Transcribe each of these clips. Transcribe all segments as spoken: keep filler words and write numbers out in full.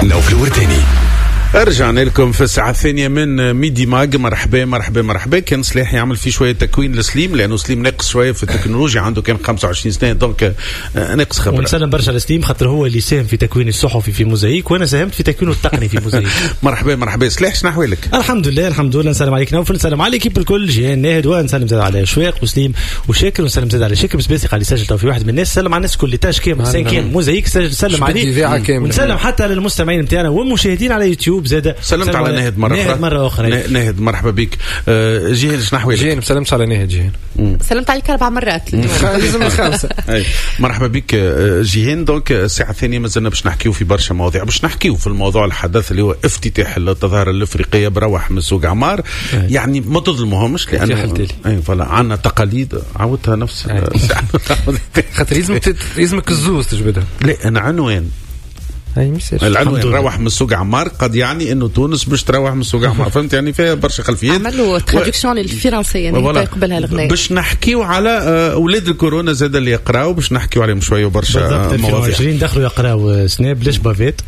نوفل الورتاني. رجعنا لكم في الساعة الثانية من ميدي ماج. مرحبا مرحبا مرحبا. كان صلاح يعمل في شوية تكوين لسليم لأنه سليم ناقص شوية في التكنولوجيا، عنده كان خمسة وعشرين سنة donc ناقص خبرة. ونسلم برشا لسليم خاطر هو اللي ساهم في تكوين الصحفي في موزايك وأنا ساهمت في تكوينه التقني في موزايك. مرحبا مرحبا صلاح، شنو أحوالك؟ الحمد لله الحمد لله. نسلم عليك نوفل، نسلم على l'équipe الكل، جيهان ناهد، ونسلم زاد على شواق وسليم وشاكر، ونسلم زاد على شاكر بسباسي قال يسجل تو في واحد من الناس. سلم على الناس كل تاج كامل cinquième موزايك، سلم عليه، ونسلم حتى للمستمعين نتاعنا والمشاهدين على يوتيوب زاد. سلمت على ناهد مرة أخرى. ناهد مرة أخرى. ناهد مرحبا بك. آه جيهان شنو أحوالك؟ جيهان سلمت على ناهد. جيهان سلمت عليك أربع مرات لازم الخامسة. مرحبا بك جيهان. donc الساعة الثانية مازلنا باش نحكيو في برشا مواضيع، باش نحكيو في الموضوع الحدث اللي هو افتتاح التظاهرة الأفريقية بروح من سوق عمار. يعني ما تظلمهمش لأنه أي voilà عندنا تقاليد عودتها نفس خاطر لازمك لازمك الزوز تجبدها. لا أنا عنوان العنوان روح من السوق عمار قد يعني انه تونس باش تروح من السوق عمار، فهمت؟ يعني فيها برشا خلفيات. عملوا traduction للفرنسيه يعني يقبلها الغناء. باش نحكيو على اولاد الكورونا زاد اللي يقراو، باش نحكيو عليهم شوية وبرشا مواضيع. ألفين وعشرين دخلوا يقراو سناب ليش bavettes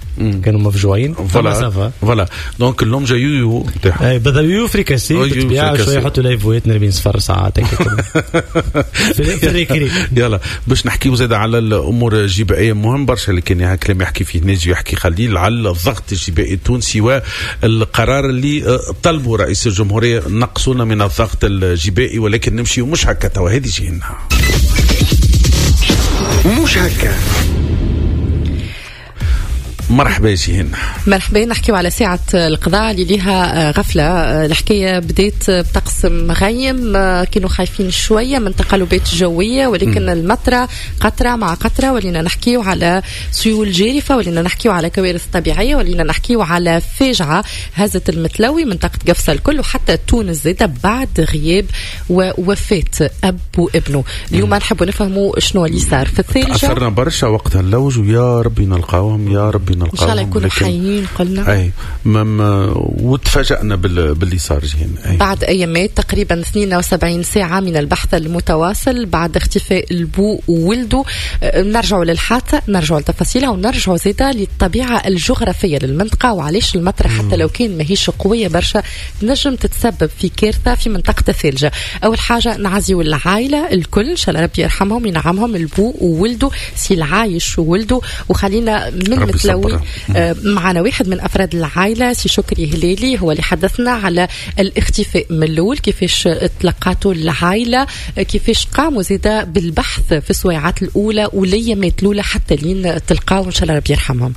كانوا مفجوعين. voilà voilà donc اللوم جا يويو اي بدا يويو فريكاسي بالطبيعة شوية يحطوا لايفوات نرمين صفر ساعات في ال récré. يلا باش نحكيو زاد على الامور الجبائيه، مهم برشا اللي كان كلام يحكي فيه ناجي يحكي خليل على الضغط الجبائي التونسي والقرار اللي طلبه رئيس الجمهورية نقصونا من الضغط الجبائي، ولكن نمشي ومش هكا توا. هذه جينا مش هكا. مرحبا جيهان. مرحبا. نحكيو على ساعة القضاء اللي ليها غفلة. الحكاية بدات بطقس مغيم، كانوا خايفين شوية من تقلبات جوية، ولكن المطرة قطرة مع قطرة، ولينا نحكيو على سيول جارفة، ولينا نحكيو على كوارث طبيعية، ولينا نحكيو على فاجعة هزت المتلوي منطقة قفصة الكل وحتى تونس زادة بعد غياب ووفاة أب وابنه. اليوم نحبوا نفهموا شنو اللي صار في الثالجة. أثرنا برشا وقتها اللوج ويا ربي نلقاوهم يا ربي إن شاء الله يكونوا حيين قلنا. أي مم وتفاجأنا بال... باللي صار جهين. أي. بعد أيامات تقريبا اثنين وسبعين ساعة من البحث المتواصل بعد اختفاء البو وولده، نرجعوا للحادثة، نرجعوا لتفاصيلها، ونرجعوا زيدا للطبيعة الجغرافية للمنطقة وعلاش المطرة حتى لو كان ماهيش قوية برشا تنجم تتسبب في كارثة في منطقة الثلجة. أول حاجة نعزيو العائلة الكل، إن شاء الله ربي يرحمهم ينعمهم، البو وولده سي العايش وولده. وخلينا من متلوي معنا واحد من أفراد العائلة سي شكري هلالي، هو اللي حدثنا على الاختفاء من الأول، كيفاش تلقاته العائلة، كيفاش قاموا زيدا بالبحث في السويعات الأولى والأيامات الأولى حتى لين تلقاو، إن شاء الله ربي يرحمهم.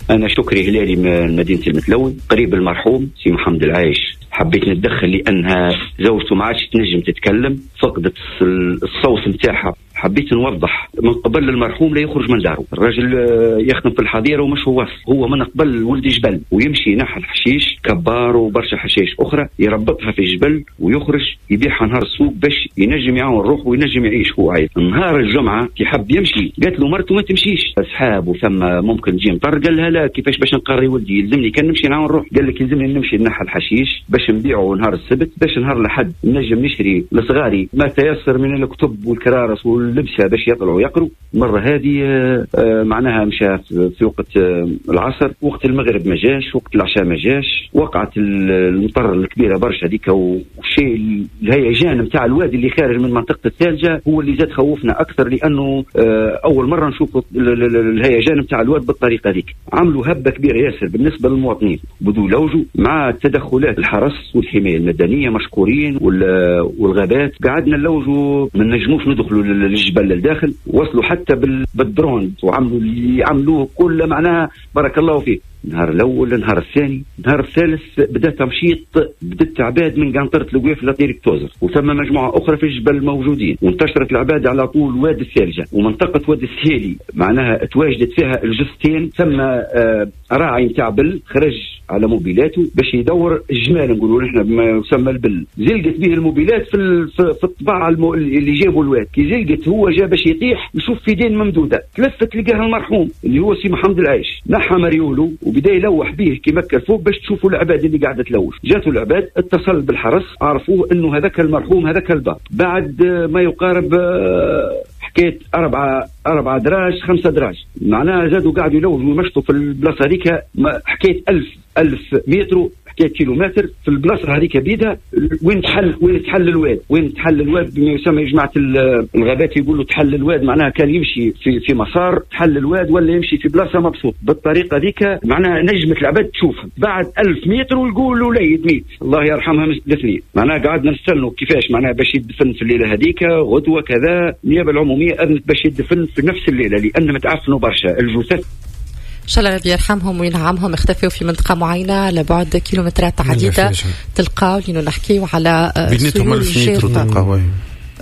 أنا شكري هلالي من مدينة المتلوي، قريب المرحوم سي محمد العايش. حبيت نتدخل لأنها زوجته ما عادش تنجم تتكلم، فقدت الصوت نتاعها. حبيت نوضح من قبل المرحوم لا يخرج من داره، الرجل يخدم في الحظيرة ومش هو هو من قبل ولد جبل ويمشي ناحية الحشيش كبار وبرشا حشيش أخرى يربطها في الجبل ويخرج يبيعها نهار السوق باش ينجم يعاون روحه وينجم يعيش هو عايش. نهار الجمعة كي حب يمشي قالت له مرته ما تمشيش، أصحاب وثم ممكن تجي مطر، قال لها لا كيفاش باش نقري ولدي، يلزمني كان نمشي نعاون روحي. قال لك يلزمني نمشي ناحية الحشيش باش نبيعه نهار السبت باش نهار الأحد نجم نشري لصغاري ما تيسر من الكتب والكرارس اللبسه باش يطلعوا يقروا. المرة هذه معناها مشى في وقت العصر، وقت المغرب ما جاش، وقت العشاء ما جاش، وقعت المطر الكبيرة برشا هذيك، والشيء الهيجان نتاع الوادي اللي خارج من منطقة الثالجه هو اللي زاد خوفنا اكثر، لانه اول مرة نشوف الهيجان نتاع الواد بالطريقة هذيك. عملوا هبه كبيرة ياسر بالنسبة للمواطنين، بدو لوجوا مع تدخلات الحرس والحماية المدنية مشكورين والغابات، قعدنا نلوجوا ما نجموش ندخلوا الجبل للداخل، وصلوا حتى بالدرون وعملوا اللي عملوه كله، معناها بارك الله فيه. النهار الاول، النهار الثاني، النهار الثالث بدا تمشيط، بدات عباد من قنطرة القويف لطريق توزر، وثم مجموعة اخرى في الجبل موجودين، وانتشرت العباد على طول وادي الثالجه ومنطقة وادي السهيلي، معناها تواجدت فيها الجثتين. ثم آه راعي نتاع بل خرج على موبيلاته باش يدور الجمال، نقولوا نحن بما يسمى البل، زلقت به الموبيلات في في الطباعة المو... اللي جابوا الواد، كي زلقت هو جا باش يطيح يشوف في دين ممدوده، تلفت لقاها المرحوم اللي هو سي محمد العايش، نحى مريوله وبدا يلوح به كي مكة الفوق باش تشوفوا العباد اللي قاعدة تلوش. جاتوا العباد، اتصل بالحرس، عرفوه انه هذاك المرحوم هذاك الباب. بعد ما يقارب حكاية أربعة أربعة دراج خمسة دراج، معناها زادوا قاعدوا يلوجوا ويمشطوا في البلاصة هذيك حكاية ألف ألف متر، حكاية كيلومتر في البلاصة هذيك بيدها وين تحل وين تحل الواد، وين تحل الواد بما يسمى جماعة الغابات يقولوا تحل الواد، معناها كان يمشي في في مسار تحل الواد ولا يمشي في بلاصة مبسوط بالطريقة هذيك، معناها نجمه العباد تشوف بعد ألف متر ويقولوا وليد ميت الله يرحمها الاثنين. معناها قعدنا نستنوا كيفاش معناها باش يدفن في الليلة هذيك غدوه كذا. النيابة العمومية اذنت باش يدفن في نفس الليلة لان متعفنوا برشا الجثث. إن شاء الله ربي يرحمهم وينعمهم. اختفوا في منطقة معينة على بعد كيلومترات عديدة تلقاو، لأنه نحكيو على بيناتهم ألف متر تلقاو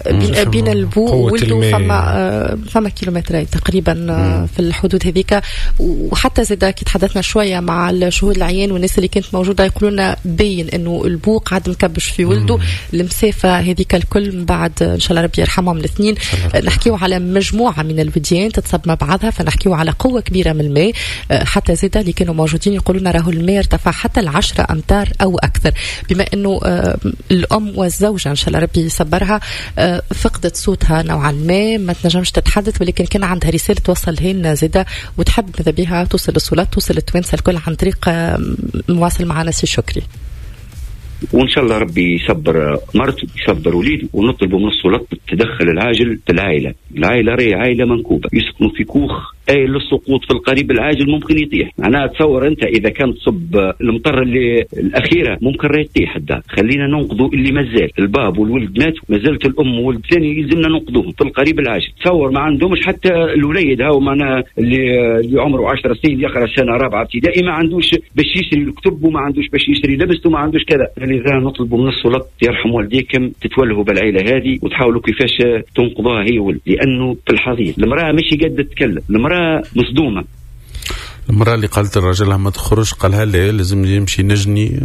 بين, بين البو والدو فما فما كيلومترات تقريبا مم. في الحدود هذيك. وحتى زاد كي تحدثنا شوية مع الشهود العيان والناس اللي كانت موجودة يقولوا لنا باين انه البو قاعد مكبش في ولده المسافة هذيك الكل. من بعد ان شاء الله ربي يرحمهم الاثنين. نحكيو على مجموعة من الوديان تتصب مع بعضها، فنحكيو على قوة كبيرة من الماء. حتى زاد اللي كانوا موجودين يقولوا لنا راهو الماء ارتفع حتى العشرة امتار او اكثر. بما انه الام والزوجة ان شاء الله ربي يصبرها فقدت صوتها نوعا ما، ما تنجمش تتحدث، ولكن كان عندها رسالة توصلها لنا زاده وتحب ماذا بها توصل للسلطات، توصل للتوانسه الكل عن طريق مواصل معنا سي شكري. وان شاء الله ربي يصبر مرته يصبر وليده، ونطلبوا من السلطات التدخل العاجل في العائلة. العائلة راهي عائلة منكوبه، يسكنوا في كوخ اي للسقوط في القريب العاجل ممكن يطيح. معناها تصور انت اذا كان تصب المطر اللي الاخيرة ممكن راهي تطيح الدار. خلينا ننقذوا اللي مازال، الباب والولد مات، مازالت الام والولد الثاني يلزمنا ننقذوهم في القريب العاجل. تصور ما عندهمش حتى الوليد هاو معناها اللي اللي عمره عشر سنين يقرا سنة رابعه ابتدائي ما عندوش باش يشري الكتب وما عندوش باش يشري لبسته وما عندوش كذا. لذا نطلب من السلطات يرحم والديكم تتولهوا بالعيلة هذه وتحاولوا كيفاش تنقذوها هي ولد، لانه في الحضيض المراة ماشي قادرة تتكلم، المراة مصدومة. المرأة اللي قالت لراجلها ما تخرج قالها لا لازم يمشي نجني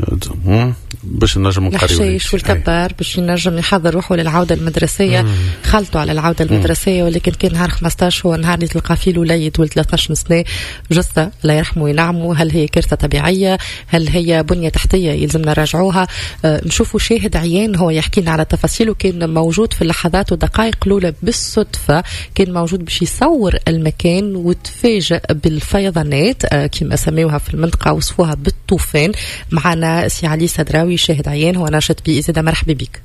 باش نجم نقريو الحشيش والكبار باش ينجم يحضر روحه للعودة المدرسية. خلطوا على العودة المدرسية، ولكن كان نهار خمسطاش هو نهار اللي تلقى فيه الوليد ولد ثلاثة عشر سنة جثة الله يرحمه وينعمه. هل هي كارثة طبيعية؟ هل هي بنية تحتية يلزمنا نراجعوها؟ أه نشوفوا شاهد عيان هو يحكي لنا على تفاصيل، وكان موجود في اللحظات ودقائق الأولى بالصدفة كان موجود باش يصور المكان وتفاجأ بالفيضانات كما سميوها في المنطقة وصفوها بالطوفان. معنا سي علي سدراوي شاهد عيان هو ناشط بيئي زادة، مرحبا بك.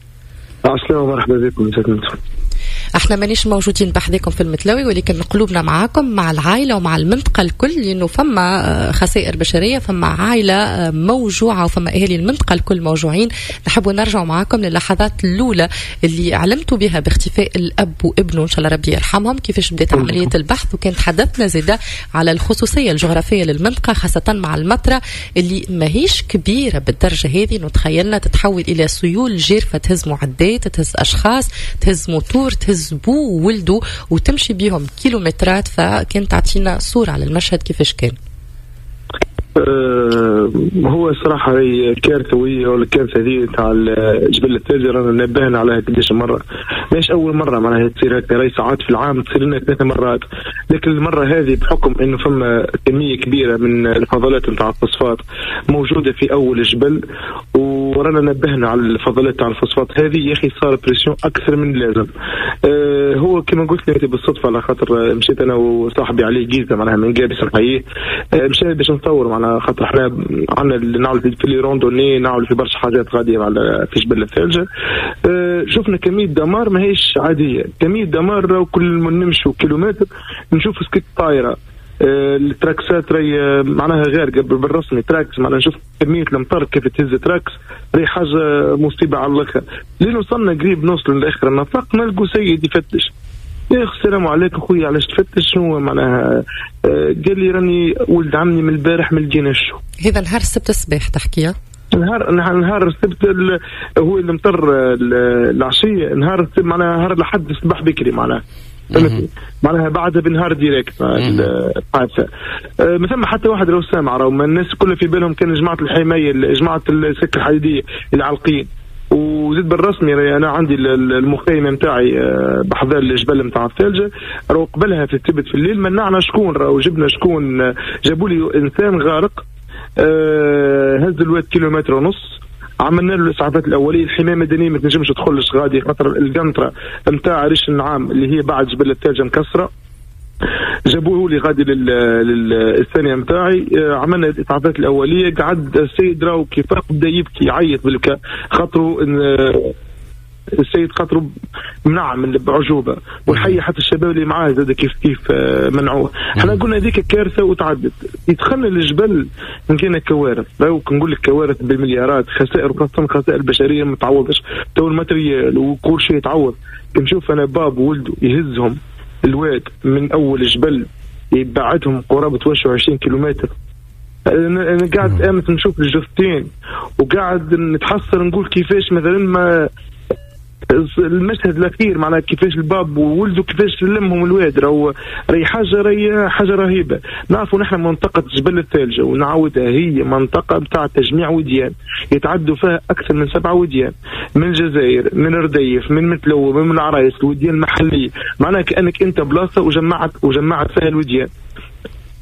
عسلامة، مرحبا بكم. احنا مانيش موجودين بحذاكم في المتلوي، ولكن قلوبنا معاكم مع العائلة ومع المنطقة الكل، لأنه فما خسائر بشرية، فما عائلة موجوعة وفما أهالي المنطقة الكل موجوعين. نحب نرجع معاكم للحظات الأولى اللي علمتوا بها باختفاء الأب وابنه إن شاء الله ربي يرحمهم، كيفاش بدأت عملية البحث، وكان تحدثنا زادة على الخصوصية الجغرافية للمنطقة خاصة مع المطرة اللي ماهيش كبيرة بالدرجة هذه، نتخيلنا تتحول إلى سيول جارفة تهز معدات، تهز أشخاص، تهز موتور، تهز بو وولده وتمشي بيهم كيلومترات. فكانت تعطينا صورة على المشهد كيفاش كان. أه هو صراحة هي كارثة، وهي الكارثة هذه تاع جبل الثلج رانا نبهنا عليها قداش مرة، ماهيش أول مرة معناها تصير هكا، راهي ساعات في العام تصير لنا ثلاث مرات، لكن المرة هذه بحكم إنه فما كمية كبيرة من الفضلات نتاع الفوسفات موجودة في أول الجبل، ورانا نبهنا على الفضلات تاع الفوسفات هذه، يا أخي صار pression أكثر من اللازم. أه هو كما قلت لك بالصدفة، على خاطر مشيت أنا وصاحبي علي جيزة معناها من قابس نحييه، أه مشينا باش نصور معناها، خاطر احنا عندنا نعمل في les randonnées، نعمل في برشا حاجات غادية على في جبل الثلج. أه شفنا كمية دمار ماهيش عادية، كمية دمار كل ما نمشوا كيلومتر نشوف سكت طايره، أه التراكسات راهي معناها غارقة بالرسمي تراكس، معناها نشوف كمية الامطار كيف تهز تراكس، راهي حاجة مصيبة على الاخر. لين وصلنا قريب نوصل لاخر النفق نلقوا سيد يفتش، يا اخي السلام عليكم خويا علاش تفتش شنو معناها؟ آه قال لي راني ولد عمي من البارح ما لقيناش. هذا نهار السبت الصباح تحكيها؟ نهار نهار السبت هو اللي مطر العشية، نهار السبت معناها نهار لحد الصباح بكري معناها، معناها بعدها بنهار direct الحادثة. آه ما ثم حتى واحد لو سامع، راهو الناس كلها في بالهم كان جماعة الحماية، جماعة السكة الحديدية العالقين. وزيد بالرسمي انا عندي المخيمه نتاعي بحذا الجبل نتاع الثلجه، راهو قبلها في السبت في الليل منعنا شكون، راهو جبنا شكون، جابوا لي انسان غارق هز الواد كيلومتر ونص، عملنا له الاسعافات الاولية. الحماية المدنية ما تنجمش تدخلش غادي خاطر القنطرة نتاع ريش النعام اللي هي بعد جبل الثلجه مكسرة. جابوه لي غادي للثانيه نتاعي، عملنا الاسعافات الاولية. قعد السيد راهو كيف بدا يبكي يعيط بالبكاء خاطرو السيد خاطرو منع من بعجوبه، والحي حتى الشباب اللي معاه زاد كيف كيف منعوه. احنا قلنا هذيك كارثة وتعدت. يدخلنا للجبل لقينا كوارث، لو نقول لك كوارث بالمليارات، خسائر وخاصة خسائر بشرية ما تعوضش، تو ال matériel وكل شيء يتعوض. نشوف انا باب وولده يهزهم الواد من اول الجبل يبعدهم قرابة واحد وعشرين كيلومتر. انا قاعد امس نشوف الجثتين وقاعد نتحسر نقول كيفاش مثلا ما المشهد الاخير معناها كيفاش الباب وولده كيفاش لمهم الواد، راهو راهي حاجة راهي حاجة رهيبة. نعرفوا نحن منطقة جبل الثلجه ونعاودها هي منطقة بتاع تجميع وديان يتعدوا فيها اكثر من سبعة وديان، من الجزائر، من رديف، من متلو، من العرايس، الوديان المحلية. معناها كانك انت بلاصة وجمعت وجمعت فيها الوديان.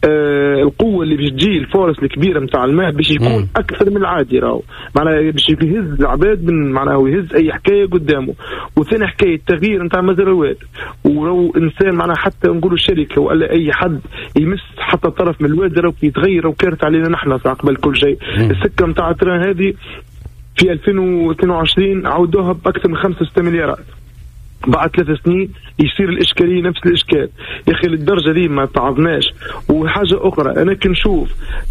آه القوة اللي باش تجي ال force الكبيرة نتاع الماء باش يكون اكثر من العادي، راهو معناها باش يهز العباد من معناها يهز اي حكاية قدامه. وثاني حكاية التغيير نتاع مجرى الواد، ولو انسان معناها حتى نقولوا شركة ولا اي حد يمس حتى طرف من الواد راهو يتغير وكارثة علينا نحن قبل كل شيء. السكة نتاع ال train هذه في ألفين واثنين وعشرين عودوها باكثر من خمسة ستة مليارات، بعد ثلاث سنين يصير الإشكالية نفس الإشكال. يا أخي للدرجة دي ما تعظناش. وحاجة أخرى أنا كنشوف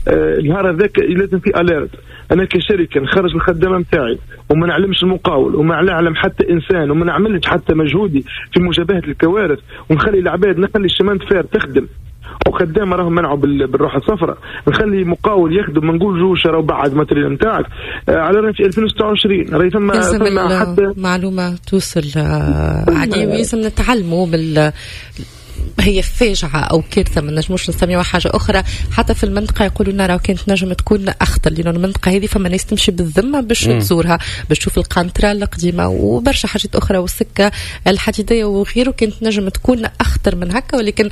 آه النهار هذاك لازم في أليرت. أنا كشركة نخرج الخدامة نتاعي وما نعلمش المقاول وما نعلم حتى إنسان وما نعملش حتى مجهودي في مجابهة الكوارث، ونخلي العباد، نخلي ال chemin de fer تخدم وخدامه راهم منعوا بالروح الصفراء، نخلي مقاول يخدم ما نقولوش راهو بعد matériel نتاعك. آه على رأي في ألفين وستة وعشرين راهي ثم ثم حتى معلومة توصل عادي، ولازم نتعلموا بال هي فاجعة أو كارثة ما نجموش نسميوها حاجة أخرى. حتى في المنطقة يقولوا لنا راهو كانت نجم تكون أخطر، لأنه المنطقة هذه فما ناس تمشي بالذمة باش تزورها، باش تشوف القنطرة القديمة وبرشا حاجات أخرى والسكة الحديدية وغيره، كانت نجم تكون أخطر من هكا. ولكن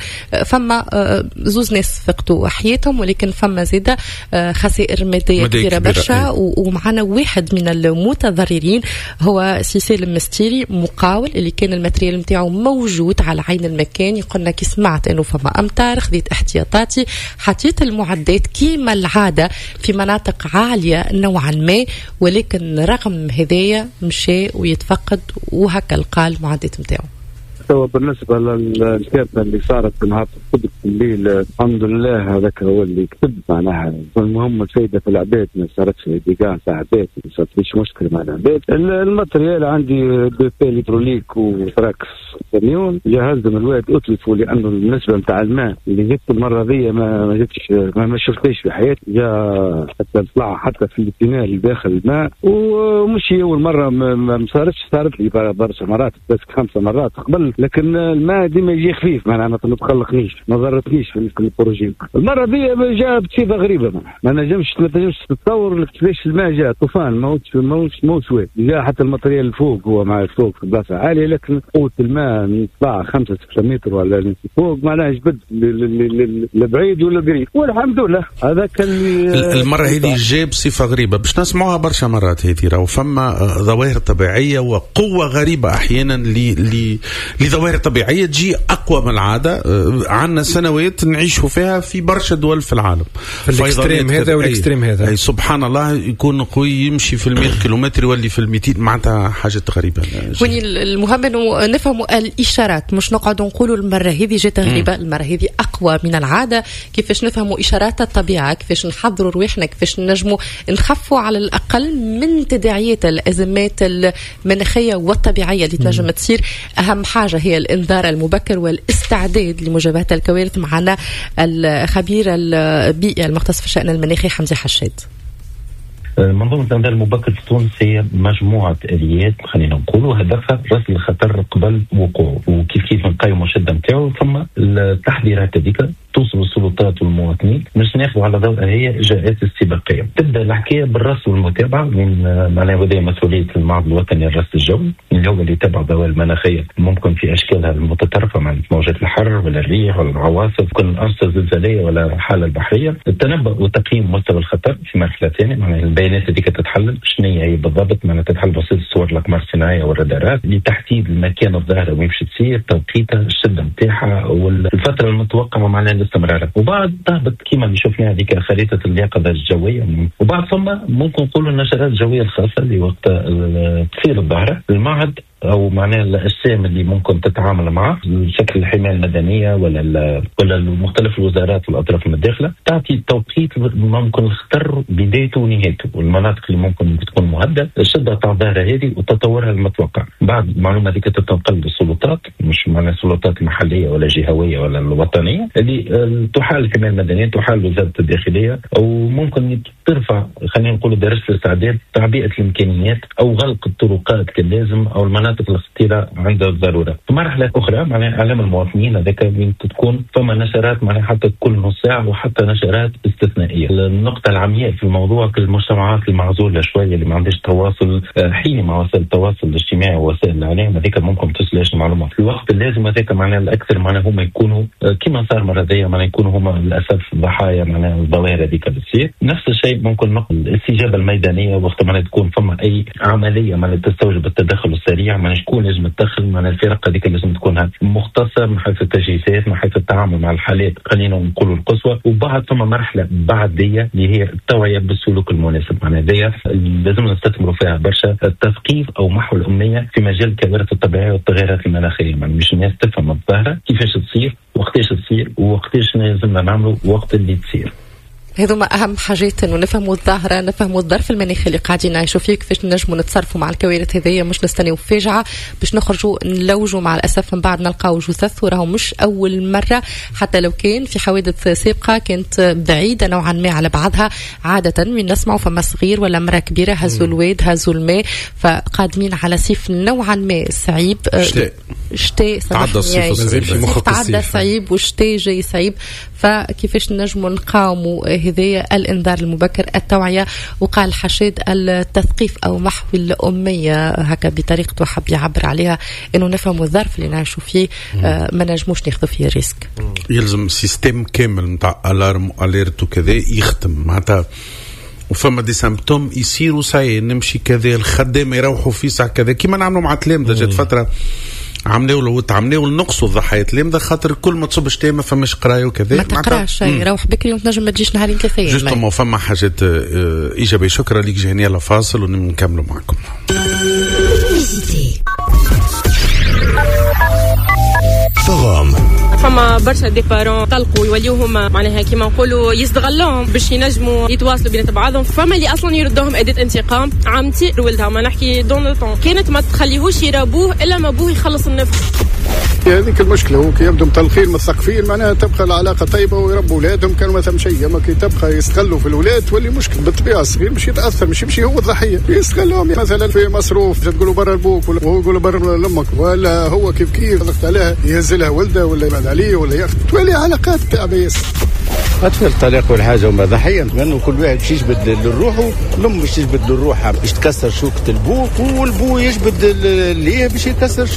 فما زوز ناس فقدوا حياتهم، ولكن فما زادة خسائر مادية كبيرة برشا. ومعنا واحد من المتضررين هو سي سالم مستيري، مقاول اللي كان ال matériel نتاعو موجود على عين المكان. يقولنا كي سمعت انه فما امطار خذيت احتياطاتي، حطيت المعدات كيما العادة في مناطق عالية نوعا ما، ولكن رغم هذايا مشى ويتفقد وهكا لقى المعدات نتاعو. توا بالنسبة للكارثه اللي صارت نهار السبت في الليل، الحمد لله هذاك هو اللي كتب معناها. المهم الفايدة في العباد ما صارتش dégâts تاع عباد، ما صارتش مشكلة مع العباد. ال matériel عندي deux pelles hydrauliques و trax camion، جهزهم الواد اتلفوا لانه النسبة نتاع الماء اللي جبت المرة ذي ما ما جبتش ما, ما شفتش في حياتي، جا حتى طلع حتى في ال tunnel داخل الماء. ومش اول مرة ما صارتش، صارت لي برشا مرات، بس خمسة مرات قبل، لكن الماء ديما يجي خفيف معناها ما تقلقنيش، ما ضرتنيش في ال projet. المرة دي جاء بصفة غريبة، ما نجمش ما تنجمش تتصور كيفاش الماء جاء طوفان، ماهوش ماهوش ماهوش واد، جاء حتى ال matériel فوق، هو مع فوق في بلاصة عالية، لكن قوة الماء طلع خمسة ستة متر ولا فوق، معناها جبد لبعيد ولا قريب، والحمد لله هذاك اللي المرة هذه جاء بصفة غريبة باش نسمعوها برشا مرات هذه. راهو فما ظواهر طبيعية وقوه غريبة احيانا ل لظواهر طبيعية تجي اقوى من العادة. عندنا سنوات نعيشوا فيها في برشا دول في العالم، في ال extrême هذا وال extrême هذا، أي سبحان الله يكون قوي يمشي في المئة كيلومتر يولي في المئتين، معناتها حاجة غريبة. وني المهم انه نفهموا الاشارات، مش نقعدوا نقولوا المرة هذه جات غريبة، المرة هذه اقوى من العادة. كيفاش نفهموا اشارات الطبيعة، كيفاش نحضروا رواحنا، كيفاش نجموا نخفوا على الاقل من تداعيات الازمات المناخية والطبيعيه اللي تنجم تصير. اهم حاجة هي الانذار المبكر والاستعداد لمجابهه الكوارث. معنا الخبير البيئي المختص في الشأن المناخي حمزة حشاد. منظومة الإنذار المبكر في تونس هي مجموعة آليات خلينا نقولوا هدفها رصد الخطر قبل وقوعه وكيف كيف نقيموا الشدة نتاعو، ثم التحذيرات هذيك توصل السلطات والمواطنين باش ناخذوا على ضوء هي اجراءات استباقية. تبدا الحكاية بالرصد والمتابعة من معناها وهذه مسؤولية المعهد الوطني للرصد الجوي اللي هو اللي يتبع الظواهر المناخية ممكن في اشكالها المتطرفة مع موجات الحر ولا الريح ولا العواصف، كل الانشطة الزلزاليه ولا الحالة البحرية. التنبؤ وتقييم مستوى الخطر في مرحلة ثانية، معناها البيانات هذيك تتحلل شنو هي بالضبط، معناها تتحلل بواسطة الصور الاقمار الصناعية والرادارات لتحديد المكان الظاهرة وين باش تصير، توقيتها، الشدة نتاعها، والفترة المتوقعة معناها الاستمرار. وبعد تهبط كيما اللي شفنا هذيك خريطة اليقظة الجوية. وبعد ثم ممكن نقولوا النشرات الجوية الخاصة اللي وقت تصير الظاهرة المعهد او معناها الاجسام اللي ممكن تتعامل معه شكل الحماية المدنية ولا ولا مختلف الوزارات والاطراف المتداخله تعطي توقيت ممكن الخطر بدايته ونهايته والمناطق اللي ممكن تكون مهددة، الشدة تاع الظاهرة هذه وتطورها المتوقع. بعد المعلومة هذيك تتنقل للسلطات، مش معناها السلطات المحلية ولا الجهوية ولا الوطنية اللي تحال الحماية المدنية، تحال وزارة الداخلية، او ممكن ترفع خلينا نقول درجه الاستعداد، تعبئة الامكانيات او غلق الطرقات كاللازم او المناطق الخطيرة عند الضرورة. في مرحلة اخرى معناها اعلام المواطنين هذاك وين تكون فما نشرات معناها حتى كل نص ساعة وحتى نشرات استثنائية. النقطة العمياء في الموضوع المجتمعات المعزوله شوية اللي ما عندهاش تواصل حين مع وسائل التواصل الاجتماعي ووسائل الاعلام هذيك ممكن تصلش المعلومة في الوقت اللازم. هذاك معناها الاكثر معناها هما يكونوا كما صار مرة ذي معناها يكونوا هما للاسف ضحايا معناها الظواهر هذيك اللي تصير. نفس الشيء ممكن نقل الاستجابة الميدانية وقت معناها تكون فما اي عملية معناها تستوجب التدخل السريع، معناها شكون لازم تدخل، معناها الفرق هذيك لازم تكون مختصة من حيث التجهيزات، من حيث التعامل مع الحالات خلينا نقولوا القصوى. وبعد ثم مرحلة بعديه اللي هي التوعية بالسلوك المناسب، معناها هذيا لازم نستثمروا فيها برشا، التثقيف او محو الامية في مجال الكوارث الطبيعية والتغيرات المناخية، معناها مش الناس تفهم الظاهرة كيفاش تصير وقتاش تصير ووقتاش لازمنا نعملوا وقت اللي تصير. هذوما اهم حاجات، انه نفهموا الظاهرة، نفهموا الظرف المناخي اللي قاعدين نعيشوا فيه، كيفاش نجموا نتصرفوا مع الكوارث هذيا، مش نستناو فاجعة باش نخرجوا نلوجوا مع الاسف من بعد نلقاو جثث. وراهو مش اول مرة، حتى لو كان في حوادث سابقه كانت بعيدة نوعا ما على بعضها، عادة من نسمعوا فما صغير ولا امراة كبيرة هزوا الواد هزوا الماء، فقادمين على صيف نوعا ما صعيب، شتاء شتاء تعدى الصيف تعدى صعيب والشتاء جاي صعيب. فكيفاش نجموا نقاوموا هذايا؟ الانذار المبكر، التوعية، وقال حشاد التثقيف او محو الامية هكا بطريقته حب يعبر عليها، انه نفهموا الظرف اللي نعيشوا فيه، آه ما نجموش ناخذوا فيه risque. يلزم système كامل نتاع alarme alerte وكذا يختم معناتها، وفما des symptômes يصيروا ساي نمشي كذا، الخدامة يروحوا في ساعة كذا كيما نعملوا مع تلامذه. جات فترة عملوا عملوا نقصوا الضحايا تلامذه خاطر كل ما تصب شتاء ما فماش قرايه وكذا، ما تقراش روح بكري وتنجم ما تجيش نهارين ثلاثة justement. فما حاجات ايجابية. شكرا لك جهنية، يلا فاصل ونكملوا معكم. فما برشا des parents طلقوا يوليوهم معناها كيما نقولوا يستغلوهم باش ينجموا يتواصلوا بين بعضهم. فما اللي اصلا يردوهم اداه انتقام. عمتي ولدها ما نحكي dans le temps كانت ما تخليهوش يرابوه الا ما بوه يخلص النفس. هذيك المشكلة هو كي يبدو مطلقين مثقفين معناها تبقى العلاقة طيبة ويربوا اولادهم كانوا ما ثم شيء، اما كي تبقى يستغلوا في الاولاد تولي مشكلة. بالطبيعة الصغير مش يتاثر، مش يمشي هو الضحية، يستغلوهم مثلا في مصروف تقولوا برا لبوك ولا هو يقولوا برا لامك، ولا هو كيف كيف ضغط عليها يهز لها ولده ولا يبعد عليه ولا ياخذ، تولي علاقات تعبيه. أطفال الطلاق والحاجة هما ضحية، لأنه كل واحد باش يجبد لروحه، الأم باش تجبد لروحها باش تكسر شوكة البو، والبو يجبد ليه باش يكسر شوكة